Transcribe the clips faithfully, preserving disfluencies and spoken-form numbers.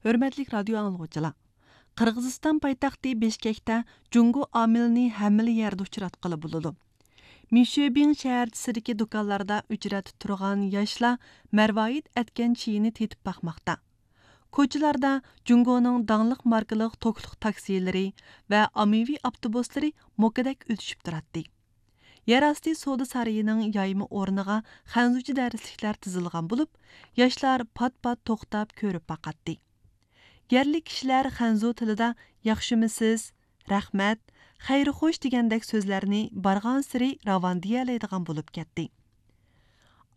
ھۆرمەتلىك رادىيو ئاڭلىغۇچىلار! قىرغىزىستان پايتەختى بىشكەكتە جۇڭگو ئامىلىنى ھەممىلا يەردە ئۇچراتقىلى بولىدۇ. مىشۈبىڭ شەھەرچىسىدىكى دۇكانلاردا ئۆچرەتتە تۇرغان ياشلار مەرۋايىت ئەتكەن چىيىنى تېتىپ باقماقتا. كوچىلاردا جۇڭگونىڭ داڭلىق ماركىلىق توكلۇق تاكسىلىرى ۋە ئاممىۋى ئاپتوبۇسلىرى موكىدەك ئۆتۈشۈپ تۇراتتى. يەر ئاستى سودا سارىيىنىڭ يايما ئورنىغا خەنزۇچە دەرسلىكلەر تىزىلغان بولۇپ، ياشلار پات-پات توختاپ كۆرۈپ باقاتتى. يەرلىك كىشىلەر خەنزۇ تىلىدا «ياخشىمۇسىز؟» «رەھمەت»، «خەير-خوش» دېگەندەك سۆزلەرنى بارغانسېرى راۋان دېيەلەيدىغان بولۇپ كەتتى.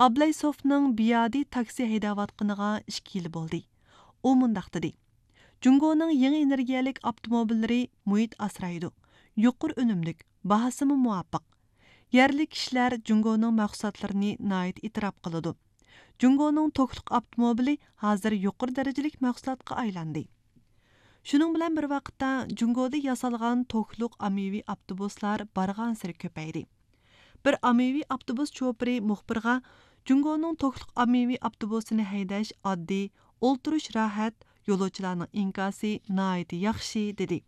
ئابلەيسوفنىڭ بىيادى تاكسى ھەيدەۋاتقىنىغا ئىككى يىل بولدى. ئۇ مۇنداق دېدى: «جۇڭگونىڭ يېڭى ئېنېرگىيەلىك ئاپتوموبىللىرى مۇھىت ئاسرايدۇ، يۇقىرى ئۈنۈملۈك، باھاسىمۇ مۇۋاپىق. يەرلىك كىشىلەر جۇڭگونىڭ مەھسۇلاتلىرىنى ناھايىتى ئېتىراپ قىلىدۇ. جۇڭگونىڭ توكلۇق ئاپتوموبىلى ھازىر يۇقىرى دەرىجىلىك مەھسۇلاتقا ئايلاندى.» شۇنىڭ بىلەن بىر ۋاقىتتا، جۇڭگودا ياسالغان توكلۇق ئاممىۋى ئاپتوبۇسلار بارغانسېرى كۆپەيدى. بىر ئاممىۋى ئاپتوبۇس شوپۇرى مۇخبىرغا، «جۇڭگونىڭ توكلۇق ئاممىۋى ئاپتوبۇسىنى ھەيدەش ئاددىي، ئولتۇرۇش راھەت، يولۇچىلارنىڭ ئىنكاسى ناھايىتى ياخشى» دېدى.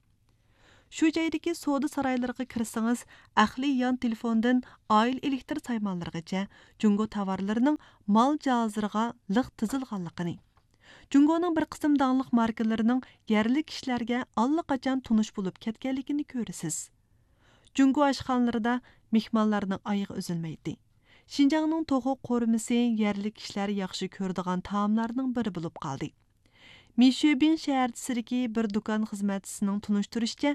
شۇ جايدىكى سودا سارايلىرىغا كىرسىڭىز، ئەقلىي يان تېلېفوندىن ئائىلە ئېلېكتىر سايمانلىرىغىچە جۇڭگو تاۋارلىرىنىڭ مال جاھازلىرىغا لىق تىزىلغانلىقىنى، جۇڭگونىڭ بىر قىسىم داڭلىق ماركىلىرىنىڭ يەرلىك كىشىلەرگە ئاللىقاچان تونۇش بولۇپ كەتكەنلىكىنى كۆرىسىز. جۇڭگو ئاشخانىلىرىدا مېھمانلارنىڭ ئايىغى ئۈزۈلمەيتتى. شىنجاڭنىڭ توخۇ قورۇمىسى يەرلىك كىشىلەر ياخشى كۆرىدىغان تائاملارنىڭ بىرى بولۇپ قالدى. مىشۈبىڭ شەھەرچىسىدىكى بىر دۇكان خىزمەتچىسىنىڭ تونۇشتۇرۇشىچە،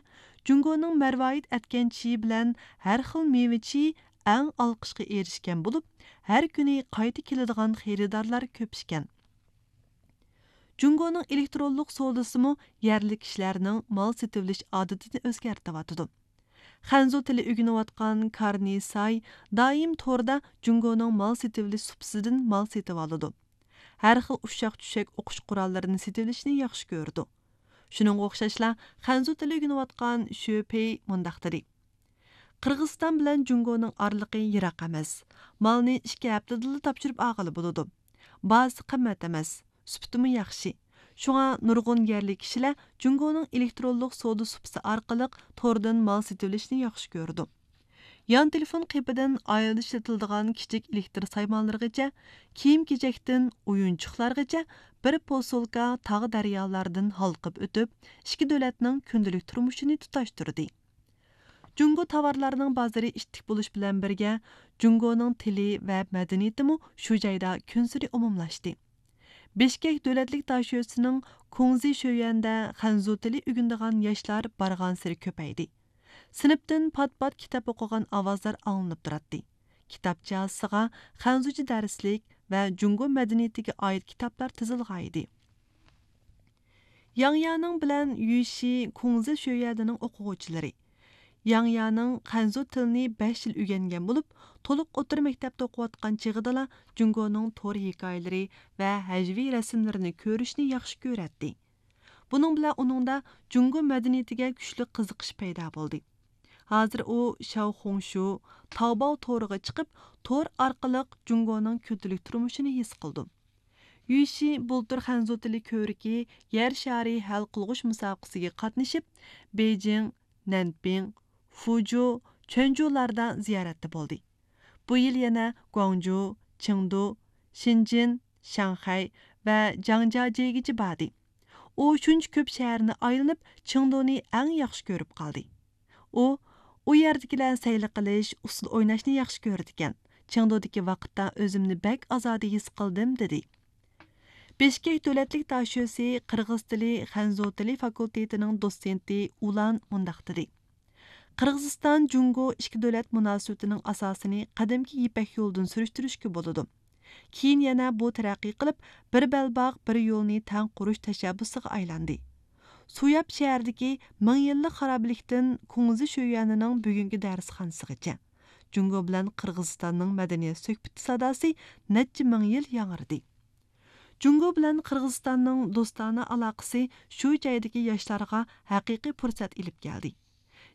جۇڭگونىڭ مەرۋايىت ئەتكەن چىيى بىلەن ھەر خىل مېۋە چىيى ئەڭ ئالقىشقا ئېرىشكەن بولۇپ، ھەر كۈنى قايتا كېلىدىغان خېرىدارلار كۆپ ئىكەن. جۇڭگونىڭ ئېلېكترونلۇق سودىسىمۇ يەرلىك كىشىلەرنىڭ مال سېتىۋېلىش ئادىتىنى ئۆزگەرتىۋاتىدۇ. خەنزۇ تىلى ئۆگىنىۋاتقان كارنى ساي دائىم توردا جۇڭگونىڭ مال سېتىۋېلىش سۇپىسىدىن مال سېتىۋالىدۇ. ھەر خىل ئۇششاق-چۈششەك ئوقۇش قوراللىرىنى سېتىۋېلىشنى ياخشى كۆرىدۇ. شۇنىڭغا ئوخشاشلا، خەنزۇ تىلى ئۆگىنىۋاتقان شۆ پېي مۇنداق دېدى: «قىرغىزىستان بىلەن جۇڭگونىڭ ئارىلىقى يىراق ئەمەس. مالنى ئىككى ھەپتىدىلا تاپشۇرۇپ ئالغىلى بولىدۇ. باھاسى قىممەت ئەمەس، سۈپىتىمۇ ياخشى. شۇڭا نۇرغۇن يەرلىك كىشىلەر جۇڭگونىڭ ئېلېكترونلۇق سودا سۇپىسى ئارقىلىق توردىن مال سېتىۋېلىشنى ياخشى كۆرىدۇ.» يان تېلېفون قېپىدىن ئائىلىدە ئىشلىتىلىدىغان كىچىك ئېلېكتىر سايمانلىرىغىچە، كىيىم-كېچەكتىن ئويۇنچۇقلارغىچە بىر پوسۇلكا تاغ-دەريالاردىن ھالقىپ ئۆتۈپ، ئىككى دۆلەتنىڭ كۈندىلىك تۇرمۇشىنى تۇتاشتۇردى. جۇڭگو تاۋارلارنىڭ بازىرى ئىتتىك بولۇش بىلەن بىرگە، جۇڭگونىڭ تىلى ۋە مەدەنىيىتىمۇ شۇ جايدا كۈنسېرى ئومۇملاشتى. بىشكەك دۆلەتلىك داشۆسىنىڭ كۇڭزى شۆيۈەندە خەنزۇ تىلى ئۆگىنىدىغان ياشلار بارغانسېرى كۆپەيدى. سىنىپتىن پات-پات كىتاب ئوقۇغان ئاۋازلار ئاڭلىنىپ تۇراتتى. كىتاب جازىسىغا خەنزۇچە دەرسلىك ۋە جۇڭگو مەدەنىيىتىگە ئائىت كىتابلار تىزىلغانىدى. ياڭيانىڭ بىلەن يۈشى كۇڭزى شۆيۈەنىنىڭ ئوقۇغۇچىلىرى. ياڭيانىڭ خەنزۇ تىلىنى بەش يىل ئۆگەنگەن بولۇپ، تولۇق ئوتتۇرا مەكتەپتە ئوقۇۋاتقان چېغىدىلا جۇڭگونىڭ تور ھېكايىلىرى ۋە ھەجۋىي رەسىملىرىنى كۆرۈشنى ياخشى كۆرەتتى. بۇنىڭ بىلەن ئۇنىڭدا جۇڭگو مەدەنىيىتىگە كۈچلۈك قىزىقىش پەيدا بولدى. ھازىر ئۇ شياۋخۇڭشۇ، تاۋباۋ تورىغا چىقىپ، تور ئارقىلىق جۇڭگونىڭ كۈندىلىك تۇرمۇشىنى ھېس قىلىدۇ. يۈشى بۇلتۇر خەنزۇ تىلى كۆۋرۈكى يەر شارى ھەل قىلغۇچ مۇسابىقىسىگە قاتنىشىپ، بېيجىڭ، نەنپىڭ، فۇجۇ، چۆنجۇلاردا زىيارەتتە بولدى. بۇ يىل يەنە گۇاڭجۇ، چېڭدۇ، شېنجېن، شاڭخەي ۋە جاڭجياجيېگىچە باردى. ئۇ شۇنچە كۆپ شەھەرنى ئايلىنىپ، چېڭدۇنى ئەڭ ياخشى كۆرۈپ قالدى. ئۇ، ئۇ يەردىكىلەر سەيلە قىلىش، ئۇسسۇل ئويناشنى ياخشى كۆرىدىكەن. چېڭدۇدىكى ۋاقىتتا ئۆزۈمنى بەك ئازادە ھېس قىلدىم، دېدى. بىشكېك دۆلەتلىك داشۆسى قىرغىز تىلى، خەنزۇ تىلى فاكۇلتېتىنىڭ دوتسېنتى ئۇلان مۇنداق دېدى: قىرغىزىستان جۇڭگو ئىككى دۆلەت مۇناسىۋىتىنىڭ ئاساسىنى قەدىمكى يىپەك يولىدىن سۈرۈشتۈرۈشكە بولىدۇ. كېيىن يەنە بۇ تەرەققىي قىلىپ، بىر بەلباغ، بىر يولنى تەڭ قۇرۇش تەشەببۇسىغا ئايلاندى. سۇياپ شەھىرىدىكى مىڭ يىللىق خارابىلىكتىن كۇڭزى شۆيۈەنىنىڭ بۈگۈنكى دەرسخانىسىغىچە، جۇڭگو بىلەن قىرغىزىستاننىڭ مەدەنىيەت سۆھبىتى ساداسى نەچچە مىڭ يىل ياڭرىدى. جۇڭگو بىلەن قىرغىزىستاننىڭ دوستانە ئالاقىسى شۇ جايدىكى ياشلارغا ھەقىقىي پۇرسەت ئېلىپ كەلدى.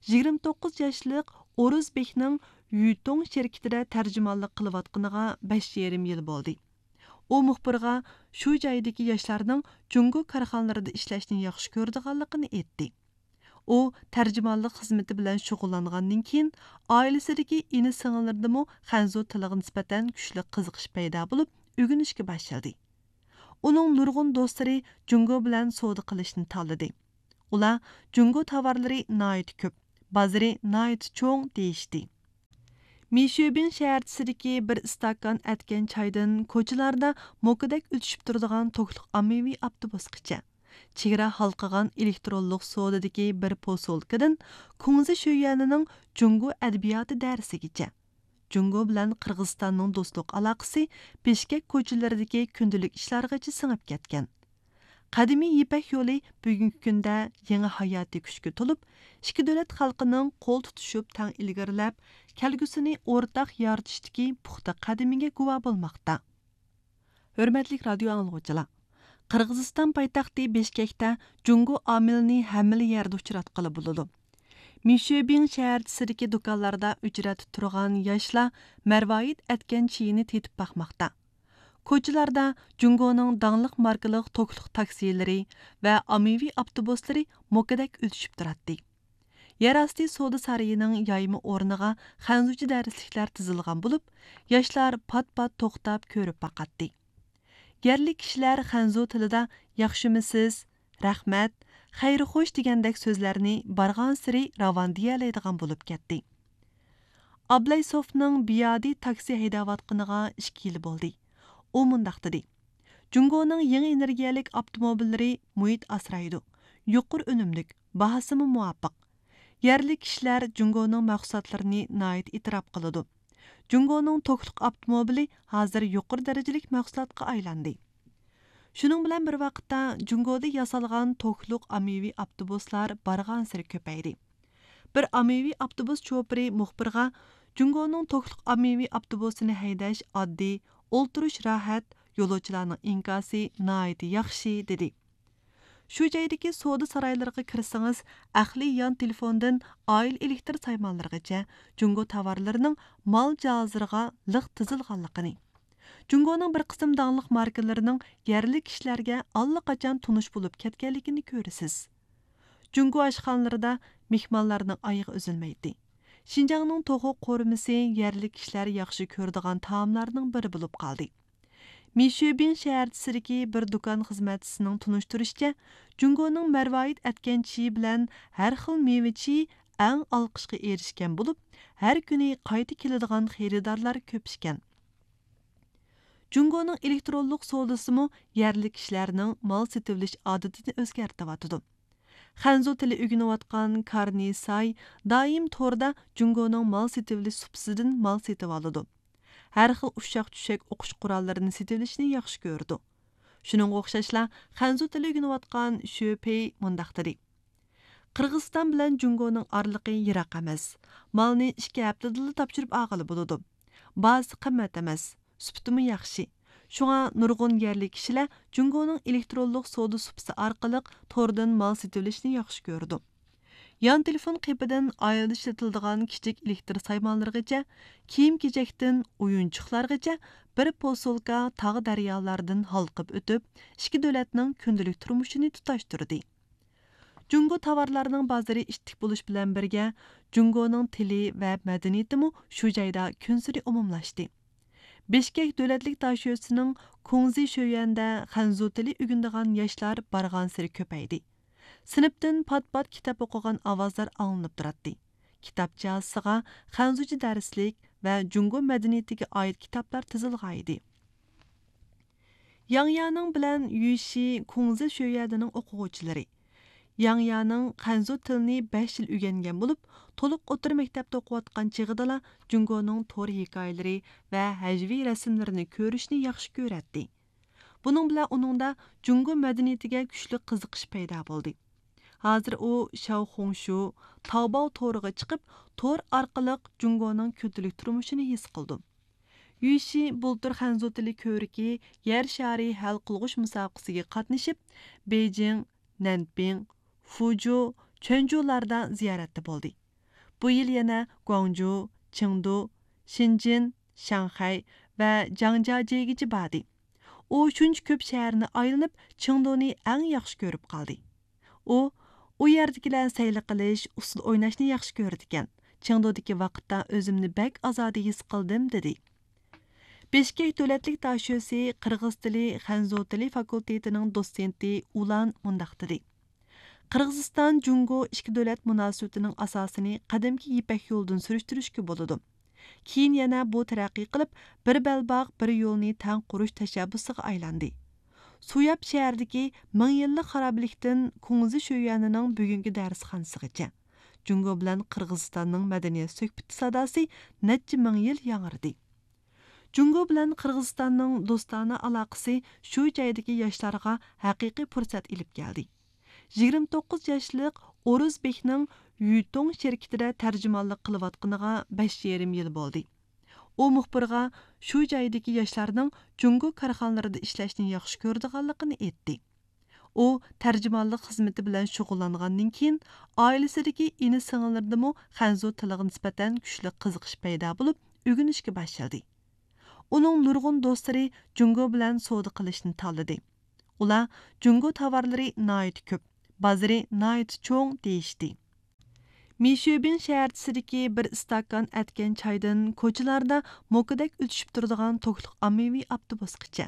يىگىرمە توققۇز ياشلىق ئورۇزبېكنىڭ يۈتۇڭ شىركىتىدە تەرجىمانلىق قىلىۋاتقىنىغا بەش يېرىم يىل بولدى. ئۇ مۇخبىرغا، شۇ جايدىكى ياشلارنىڭ جۇڭگو كارخانىلىرىدا ئىشلەشنى ياخشى كۆرىدىغانلىقىنى ئېيتتى. ئۇ تەرجىمانلىق خىزمىتى بىلەن شۇغۇللانغاندىن كېيىن، ئائىلىسىدىكى ئىنى-سىڭىللىرىدىمۇ خەنزۇ تىلىغا نىسبەتەن كۈچلۈك قىزىقىش پەيدا بولۇپ، ئۆگىنىشكە باشلىدى. ئۇنىڭ نۇرغۇن دوستلىرى جۇڭگو بىلەن سودا قىلىشنى تاللىدى. ئۇلار جۇڭگو تاۋارلىرى ناھايىتى كۆپ، بازىرى ناھايىتى چوڭ دېيىشتى. مىشۈبىڭ شەھەرچىسىدىكى بىر ئىستاكان ئەتكەن چايدىن كوچىلاردا موكىدەك ئۆتۈشۈپ تۇرىدىغان توكلۇق ئاممىۋى ئاپتوبۇسقىچە، چېگرا ھالقىغان ئېلېكترونلۇق سودىدىكى بىر پوسۇلكىدىن كۇڭزى شۆيۈەنىنىڭ جۇڭگو ئەدەبىياتى دەرسىگىچە، جۇڭگو بىلەن قىرغىزىستاننىڭ دوستلۇق ئالاقىسى بىشكەك كوچىلىرىدىكى كۈندىلىك ئىشلارغىچە سىڭىپ كەتكەن. قەدىمىي يىپەك يولى بۈگۈنكى كۈندە يېڭى ھاياتىي كۈچكە تولۇپ، ئىككى دۆلەت خەلقىنىڭ قول تۇتۇشۇپ تەڭ ئىلگىرىلەپ، كەلگۈسىنى ئورتاق يارىتىشتىكى پۇختا قەدىمىگە گۇۋاھ بولماقتا. ھۆرمەتلىك رادىيو ئاڭلىغۇچىلار، قىرغىزىستان پايتەختى بىشكەكتە جۇڭگو ئامىلىنى ھەممىلا يەردە ئۇچراتقىلى بولىدۇ. مىشۈبىڭ شەھەرچىسىدىكى دۇكانلاردا ئۆچرەتتە تۇرغان ياشلار مەرۋايىت ئەتكەن چېيىنى تېتىپ باقماقتا. كوچىلاردا جۇڭگونىڭ داڭلىق ماركىلىق توكلۇق تاكسىلىرى ۋە ئاممىۋى ئاپتوبۇسلىرى موكىدەك ئۆتۈشۈپ تۇراتتى. يەر ئاستى سودا سارىيىنىڭ يايما ئورنىغا خەنزۇچە دەرسلىكلەر تىزىلغان بولۇپ، ياشلار پات-پات توختاپ كۆرۈپ باقاتتى. يەرلىك كىشىلەر خەنزۇ تىلىدا «ياخشىمۇسىز؟» «رەھمەت»، «خەير-خوش» دېگەندەك سۆزلەرنى بارغانسېرى راۋان دېيەلەيدىغان بولۇپ كەتتى. ئابلەيسوفنىڭ بىيادى تاكسى ھەيدەۋاتقىنىغا ئىككى يىل بولدى. ئۇ مۇنداق دېدى: «جۇڭگونىڭ يېڭى ئېنېرگىيەلىك ئاپتوموبىللىرى مۇھىت ئاسرايدۇ، يۇقىرى ئۈنۈملۈك، باھاسىمۇ مۇۋاپىق. يەرلىك كىشىلەر جۇڭگونىڭ مەھسۇلاتلىرىنى ناھايىتى ئېتىراپ قىلىدۇ. جۇڭگونىڭ توكلۇق ئاپتوموبىلى ھازىر يۇقىرى دەرىجىلىك مەھسۇلاتقا ئايلاندى.» شۇنىڭ بىلەن بىر ۋاقىتتا، جۇڭگودا ياسالغان توكلۇق ئاممىۋى ئاپتوبۇسلار بارغانسېرى كۆپەيدى. بىر ئاممىۋى ئاپتوبۇس شوپۇرى مۇخبىرغا جۇڭگونىڭ توكلۇق ئاممىۋى ئاپتوبۇسىنى ھەيدەش ئاددىي، ئولتۇرۇش راھەت، يولۇچىلارنىڭ ئىنكاسى ناھايىتى ياخشى، دېدى. شۇ جايدىكى سودا سارايلىرىغا كىرسىڭىز، ئەقلىي يان تېلېفوندىن ئائىلە ئېلېكتىر سايمانلىرىغىچە جۇڭگو تاۋارلىرىنىڭ مال جاھازلىرىغا لىق تىزىلغانلىقىنى، جۇڭگونىڭ بىر قىسىم داڭلىق ماركىلىرىنىڭ يەرلىك كىشىلەرگە ئاللىقاچان تونۇش بولۇپ كەتكەنلىكىنى كۆرىسىز. جۇڭگو ئاشخانىلىرىدا مېھمانلارنىڭ ئايىغى ئۈزۈلمەيتتى. شىنجاڭنىڭ توخۇ قورۇمىسى يەرلىك كىشىلەر ياخشى كۆرىدىغان تائاملارنىڭ بىرى بولۇپ قالدى. مىشۈبىڭ شەھەرچىسىدىكى بىر دۇكان خىزمەتچىسىنىڭ تونۇشتۇرۇشىچە، جۇڭگونىڭ مەرۋايىت ئەتكەن چېيى بىلەن ھەر خىل مېۋە چېيى ئەڭ ئالقىشقا ئېرىشكەن بولۇپ، ھەر كۈنى قايتا كېلىدىغان خېرىدارلار كۆپ ئىكەن. جۇڭگونىڭ ئېلېكترونلۇق سودىسىمۇ يەرلىك كىشىلەرنىڭ مال سېتىۋېلىش ئادىتىنى ئۆزگەرتىۋاتىدۇ. خەنزۇ تىلى ئۆگىنىۋاتقان كارنى ساي دائىم توردا جۇڭگونىڭ مال سېتىۋېلىش سۇپىسىدىن مال سېتىۋالىدۇ. ھەر خىل ئۇششاق-چۈششەك ئوقۇش قوراللىرىنى سېتىۋېلىشنى ياخشى كۆرىدۇ. شۇنىڭغا ئوخشاشلا، خەنزۇ تىلى ئۆگىنىۋاتقان شۆ پېي مۇنداق دېدى: «قىرغىزىستان بىلەن جۇڭگونىڭ ئارىلىقى يىراق ئەمەس. مالنى ئىككى ھەپتىدىلا تاپشۇرۇپ ئالغىلى بولىدۇ. باھاسى قىممەت ئەمەس، سۈپىتىمۇ ياخشى. شۇڭا نۇرغۇن يەرلىك كىشىلەر جۇڭگونىڭ ئېلېكترونلۇق سودا سۇپىسى ئارقىلىق توردىن مال سېتىۋېلىشنى ياخشى كۆرىدۇ.» يان تېلېفون قېپىدىن ئائىلىدە ئىشلىتىلىدىغان كىچىك ئېلېكتىر سايمانلىرىغىچە، كىيىم-كېچەكتىن ئويۇنچۇقلارغىچە بىر پوسۇلكا تاغ-دەريالاردىن ھالقىپ ئۆتۈپ، ئىككى دۆلەتنىڭ كۈندىلىك تۇرمۇشىنى تۇتاشتۇردى. جۇڭگو تاۋارلارنىڭ بازىرى ئىتتىك بولۇش بىلەن بىرگە، جۇڭگونىڭ تىلى ۋە مەدەنىيىتىمۇ شۇ جايدا كۈنسېرى ئومۇملاشتى. بىشكەك دۆلەتلىك داشۆسىنىڭ كۇڭزى شۆيۈەندە خەنزۇ تىلى ئۆگىنىدىغان ياشلار بارغانسېرى كۆپەيدى. سىنىپتىن پات-پات كىتاب ئوقۇغان ئاۋازلار ئاڭلىنىپ تۇراتتى. كىتاب جازىسىغا خەنزۇچە دەرسلىك ۋە جۇڭگو مەدەنىيىتىگە ئائىت كىتابلار تىزىلغانىدى. ياڭيانىڭ بىلەن يۈشى كۇڭزى شۆيۈەنىنىڭ ئوقۇغۇچىلىرى. ياڭيانىڭ خەنزۇ تىلىنى بەش يىل ئۆگەنگەن بولۇپ، تولۇق ئوتتۇرا مەكتەپتە ئوقۇۋاتقان چېغىدىلا جۇڭگونىڭ تور ھېكايىلىرى ۋە ھەجۋىي رەسىملىرىنى كۆرۈشنى ياخشى كۆرەتتى. بۇنىڭ بىلەن ئۇنىڭدا جۇڭگو مەدەنىيىتىگە كۈچلۈك قىزىقىش پەيدا بولدى. ھازىر ئۇ شياۋخۇڭشۇ، تاۋباۋ تورىغا چىقىپ، تور ئارقىلىق جۇڭگونىڭ كۈندىلىك تۇرمۇشىنى ھېس قىلىدۇ. يۈشى بۇلتۇر خەنزۇ تىلى كۆۋرۈكى يەر شارى ھەل قىلغۇچ مۇسابىقىسىگە قاتنىشىپ، بېيجىڭ، نەنپىڭ، فۇجۇ، چۆنجۇلاردا زىيارەتتە بولدى. بۇ يىل يەنە گۇاڭجۇ، چېڭدۇ، شېنجېن، شاڭخەي ۋە جاڭجياجيېگىچە باردى. ئۇ شۇنچە كۆپ شەھەرنى ئايلىنىپ، چېڭدۇنى ئەڭ ياخشى كۆرۈپ قالدى. ئۇ، ئۇ يەردىكىلەر سەيلە قىلىش، ئۇسسۇل ئويناشنى ياخشى كۆرىدىكەن. چېڭدۇدىكى ۋاقىتتا ئۆزۈمنى بەك ئازادە ھېس قىلدىم، دېدى. بىشكەك دۆلەتلىك داشۆسى، قىرغىز تىلى، خەنزۇ تىلى فاكۇلتېتىنىڭ دوتسېنتى ئۇلان مۇنداق دېدى: قىرغىزىستان جۇڭگو ئىككى دۆلەت مۇناسىۋىتىنىڭ ئاساسىنى قەدىمكى يىپەك يولىدىن سۈرۈشتۈرۈشكە بولىدۇ. كېيىن يەنە بۇ تەرەققىي قىلىپ، بىر بەلباغ، بىر يولنى تەڭ قۇرۇش تەشەببۇسىغا ئايلاندى. سۇياپ شەھىرىدىكى مىڭ يىللىق خارابىلىكتىن كۇڭزى شۆيۈەنىنىڭ بۈگۈنكى دەرسخانىسىغىچە، جۇڭگو بىلەن قىرغىزىستاننىڭ مەدەنىيەت سۆھبىتى ساداسى نەچچە مىڭ يىل ياڭرىدى. جۇڭگو بىلەن قىرغىزىستاننىڭ دوستانە ئالاقىسى شۇ جايدىكى ياشلارغا ھەقىقىي پۇرسەت ئېلىپ كەلدى. يىگىرمە توققۇز ياشلىق ئورۇزبېكنىڭ يۈتۇڭ شىركىتىدە تەرجىمانلىق قىلىۋاتقىنىغا بەش يېرىم يىل بولدى. ئۇ مۇخبىرغا شۇ جايدىكى ياشلارنىڭ جۇڭگو كارخانىلىرىدا ئىشلەشنى ياخشى كۆرىدىغانلىقىنى ئېيتتى. ئۇ تەرجىمانلىق خىزمىتى بىلەن شۇغۇللانغاندىن كېيىن، ئائىلىسىدىكى ئىنى-سىڭىللىرىدىمۇ خەنزۇ تىلىغا نىسبەتەن كۈچلۈك قىزىقىش پەيدا بولۇپ، ئۆگىنىشكە باشلىدى. ئۇنىڭ نۇرغۇن دوستلىرى جۇڭگو بىلەن سودا قىلىشنى تاللىدى. ئۇلار جۇڭگو تاۋارلىرى ناھايىتى كۆپ، بازىرى ناھايىتى چوڭ دېيىشتى. مىشۈبىڭ شەھەرچىسىدىكى بىر ئىستاكان ئەتكەن چايدىن كوچىلاردا موكىدەك ئۆتۈشۈپ تۇرىدىغان توكلۇق ئاممىۋى ئاپتوبۇسقىچە،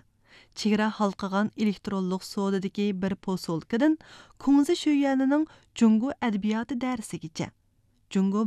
چېگرا ھالقىغان ئېلېكترونلۇق سودىدىكى بىر پوسۇلكىدىن كۇڭزى شۆيۈەنىنىڭ جۇڭگو ئەدەبىياتى دەرسىگىچە، جۇڭگو